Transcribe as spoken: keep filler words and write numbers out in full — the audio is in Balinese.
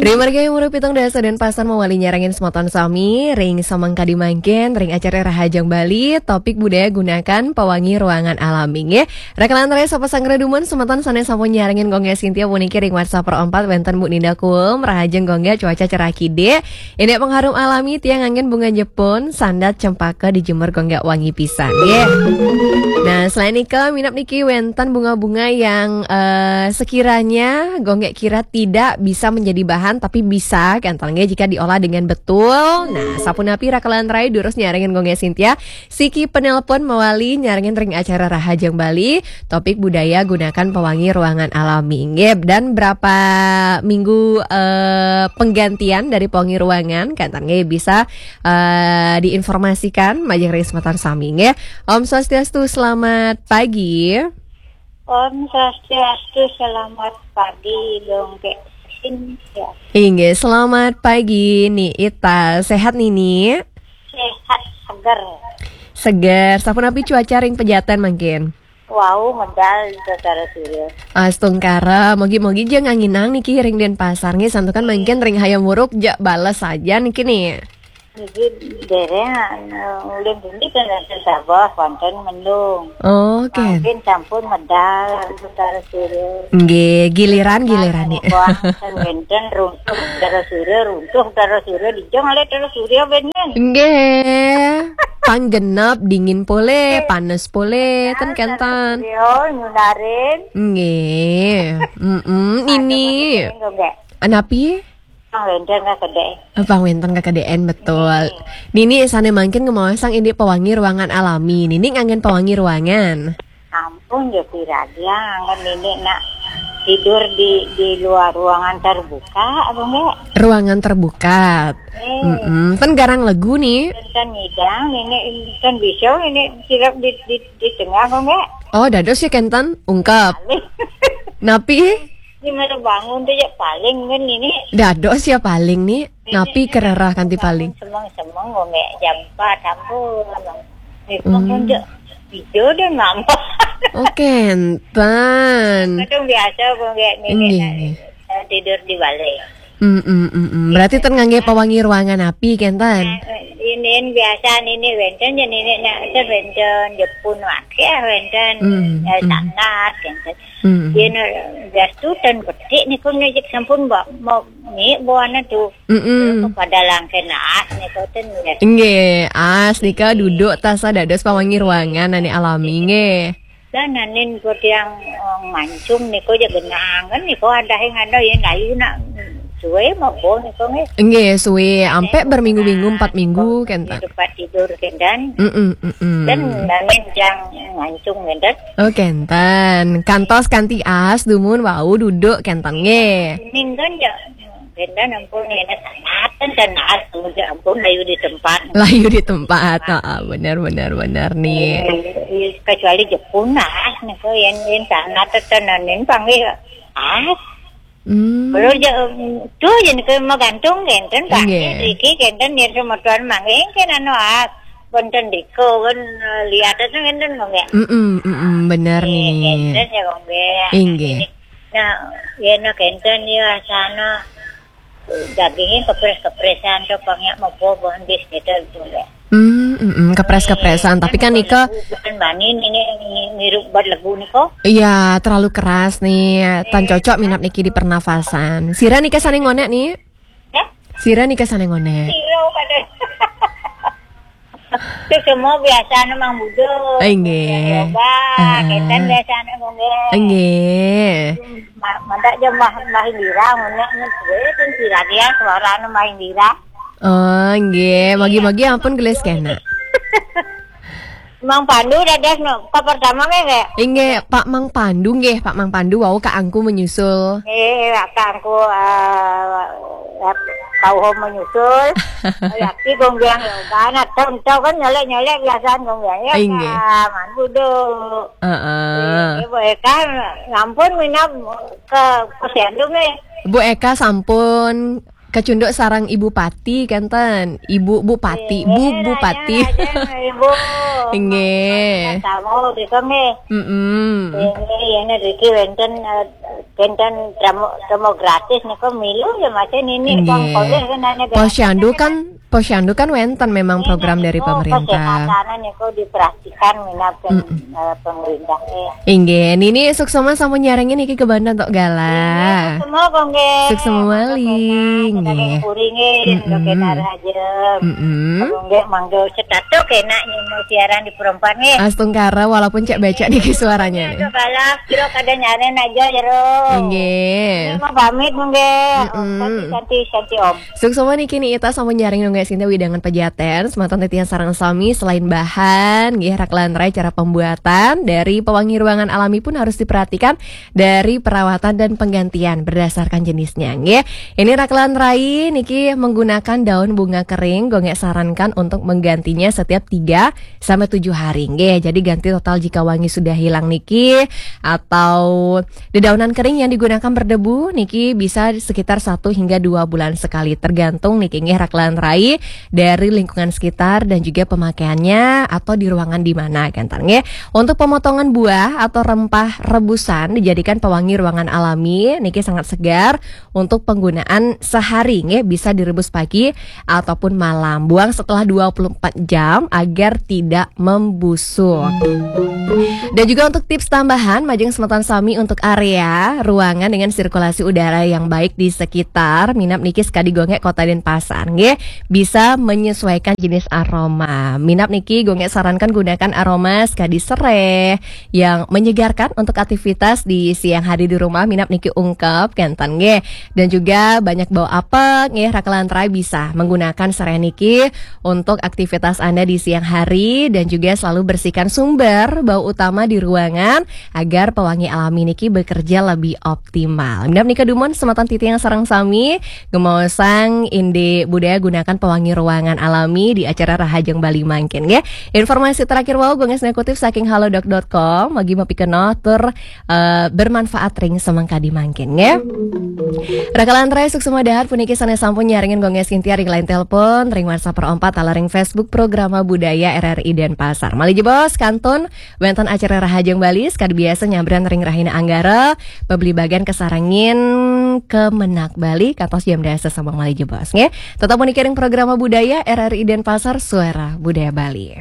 Ring margi hayam hurup pitung dasa dan pasan mawali nyarengin semeton sami ring samangkadi mangkin ring acara Rahajeng Bali, topik budaya gunakan pewangi ruangan alami nggih. Raka lan rai sapa sanggra dumun semeton sane sampun nyarengin Gung Gek Sintia puniki ring WhatsApp Pro empat wenten Bu Ninda Kuum, rahajeng Gung Gek, cuaca cerah kidik. Indik pengharum alami tiang nganggen bunga jepun, sandat cempaka dijemur Gung Gek wangi pisan nggih. Nah, selain nika minab niki wenten bunga-bunga yang eh, sekiranya Gung Gek kira tidak bisa menjadi bahan tapi bisa kental nggih jika diolah dengan betul. Nah, sapunapi raka lan rai durus nyarengin Gung Gek Sintia, siki penelpon mawali nyarengin ring acara Rahajeng Bali, topik budaya gunakan pewangi ruangan alami nggih. Dan berapa minggu eh, penggantian dari pewangi ruangan kental nggih bisa eh, diinformasikan majeng ring semeton sami nggih. Om Swastiastu, selamat pagi. Om Swastiastu, selamat pagi, Gung Gek Sintia. Inggih, selamat pagi Ni Ita. Sehat Nini? Sehat, seger. Seger. Sapunapi cuaca ring Pejaten mangkin? Wau, medal, Saudara Surya. Astungkara, mogi-mogi ja nganginang niki ring Denpasar nggih, santukan mangkin ring hayam hurup ja bales saja niki ni. Niki dereng, anu, ulih beli kan wenten sabah, wonten mendung. Oh, oke. Mangkin sampun medal, Saudara Surya. Nggih, giliran, giliran ni. Wonten runtuh, Saudara Surya, runtuh, Saudara Surya, dijeng oleh Saudara Surya benen. Nggih. Pang genep, dingin polih, panas polih, ten kentan. Yo, nyunarin. Nggih. Mm-mm, ini. Anapi? Pang wenten kakedeen. Pang wenten kakedeen, betul. Nini sane mangkin ngemaosang indik pewangi ruangan alami. Nini nganggen pewangi ruangan. Ampun, ya piragi anggon ini nak tidur di di luar ruangan terbuka, apa enggak? Ruangan terbuka. Eh. Mm-mm. Kan garang legu ni. Kan ngidang ini, kan bisa ini silap di di, di tengah, apa enggak? Oh, dados ya kenten ungkep. Paling. Napi? Di mana bangun tu ya paling kan ini. Dados ya paling ni. Napi kererah kanti paling? Semeng-semeng, ngombe jam empat ampun. Itu hmm. Pun je hijau dan nampak. Oh, kenten. Kadang biasa pun kayak ini. Nggih, nah, nggih. Saya tidur di balai. Hmm, hmm, hmm, hmm. Berarti ten ngangge pewangi ruangan api, kenten? Nah, ini biasa ini wenten, jadi ini nak wenten, Jepun wakil wenten. Hmm, eh, hmm. Sangat, kenten. Hmm. Yen gas tu ten petik niku, nek sampun ba-, mau ni buana tu. Mm-mm. Pada langke naas niku ten. Nggih, as nika duduk tasa dados pewangi ruangan ane alami nggih. Dan nanin ku tiang, eh, mancung niku ja genangan niku ada yang ada yen layu nak suwe mabo niku nggih. Nggih, suwe ampe berminggu-minggu, empat minggu kenten. Tempat tidur kenten. Mm-mm, mm-mm. Dan nanin jang mancung kenten. Oh, kenten. Kantos kanti as dumun wau duduk kenten nggih. Minggon ya. Kenten ampun, ini sanatan dan as, ampun, layu di tempat. Layu di tempat. Heeh, bener, bener, bener nih. Eh, kecuali Jepun as niku yen yen sanatan tenan yen panggih as. Hmm. Belum je, tu je ke magantung kenten, Pak. Nggih. Iki kenten yen semeton mangke kan anu as. Wonten diko kan, eh, lihat itu kenten mangke. Mm-mm, mm-mm, bener nih. Kenten ya mangke. Inggih. Nah, yen kenten ya sana dagingnya kepres-kepresan to pangnya mebo bondis gitu, gitu ya. Hmm, mm-mm, kepres-kepresan. Tapi kan nika bukan bani ini, ini ngirup buat legu nika. Iya, terlalu keras nih. Tan cocok minap niki di pernafasan. Sira nika sane ngonek nih? Ya? Sira nika sane ngonek. Sira pada. Itu semua biasa memang buduk. Inggih. Yoga, ah. Kenten biasa memang. Inggih. Ma-, mantap je Mbah, Mbah Indira, ngonek nih, gue pun sira dia suara anu Mbah Indira. Oh, nggih, magi-magi ampun gelis kena. Mang Pandu dados no, ka pertama nggih, nggih? Inggih, Pak Mang Pandu nggih, Pak Mang Pandu wau ka angku menyusul. Eh, ka angku, eh, kauho menyusul. Yakti gonggiang yoga, nah, tau, tau kan nyolek-nyolek biasaan gonggiang ya. Inggih. Ka, man buduk. Heeh. Eh, Bu Eka, ngampun minab ke posyandu nggih. Bu Eka sampun kecunduk sareng Ibu Pati, kenten. Ibu Bupati, Bu Bupati. Ibu. Nggih. Tamu dika nggih. Mm-mm. Nggih, ini riki wonten eh, wonten tamu tamu gratis niku milu ya Mas ini Nggih. Posyandu kan, posyandu kan wonten memang program dari pemerintah. Kesehatan niku diperhatikan minat eh, pemerintah. Eh. Inggih, niki suksma sampun nyarengin niki kebanda tok galah. Semua kok nggih. Suksma malih, nggih. Puri nggih, Mm-mm. nggih kena raja. Mm-mm. Nggih mangga cetato kena nyemu siaran di perempuan nggih. Astungkara walaupun cek becak niki suaranya nih. Aduh kalah, kira kada nyaren aja jero. Nggih. Mau pamit nggih. Mm-mm. Santi santi santi om. Suksma niki Ni Ita sampun nyarengin nggih Sinta widangan pejaten, semeton titiang sareng sami selain bahan, nggih rakelan rai cara pembuatan dari pewangi ruangan alami pun harus diperhatikan dari perawatan dan penggantian berdasarkan jenisnya, nggih. Ini rakelan rai niki menggunakan daun bunga kering, gonggek sarankan untuk menggantinya setiap tiga sampai tujuh hari, nggih. Jadi ganti total jika wangi sudah hilang niki atau dedaunan kering yang digunakan berdebu niki bisa sekitar satu hingga dua bulan sekali tergantung niki nggih rakelan rai dari lingkungan sekitar dan juga pemakaiannya atau di ruangan di mana kan nggih. Untuk pemotongan buah atau rempah rebusan dijadikan pewangi ruangan alami niki sangat segar untuk penggunaan sehari nggih bisa direbus pagi ataupun malam. Buang setelah dua puluh empat jam agar tidak membusuk. Dan juga untuk tips tambahan, majeng semeton sami untuk area ruangan dengan sirkulasi udara yang baik di sekitar, minap niki sekadi gonggek Kota Denpasar, nggih, bisa menyesuaikan jenis aroma. Minap niki gonggek sarankan gunakan aroma sekadi sereh yang menyegarkan untuk aktivitas di siang hari di rumah. Minap niki ungkep kenten, nggih. Dan juga banyak bau apek, nggih, rakelan rai bisa menggunakan sereh niki untuk aktivitas Anda di siang hari dan juga selalu bersihkan sumber bau utama di ruangan agar pewangi alami niki bekerja lebih optimal. Minap nika dumun semeton titiang sareng sami, gemaosang indik budaya gunakan pewangi ruangan alami di acara Rahajeng Bali mangkin nggih. Informasi terakhir wau gonggek kutip saking halodoc dot com, magi mapikenoh tur eh, bermanfaat ring semangkadi mangkin nggih. Rakelan rai suksma dahat puniki sanes sampun nyarengin gonggek Sintia ring line telepon, ring WhatsApp per empat, ala ring Facebook Programa Budaya R R I Denpasar. Malih jebos kantun wonten acara Rahajeng Bali sekadi biasa nyabran ring rahina Anggara, pebli bagan kesarengin Kemenag Bali kantos jam dasa sama malih jebos nggih. Tetap puniki ring Programa Budaya R R I Denpasar, Suara Budaya Bali.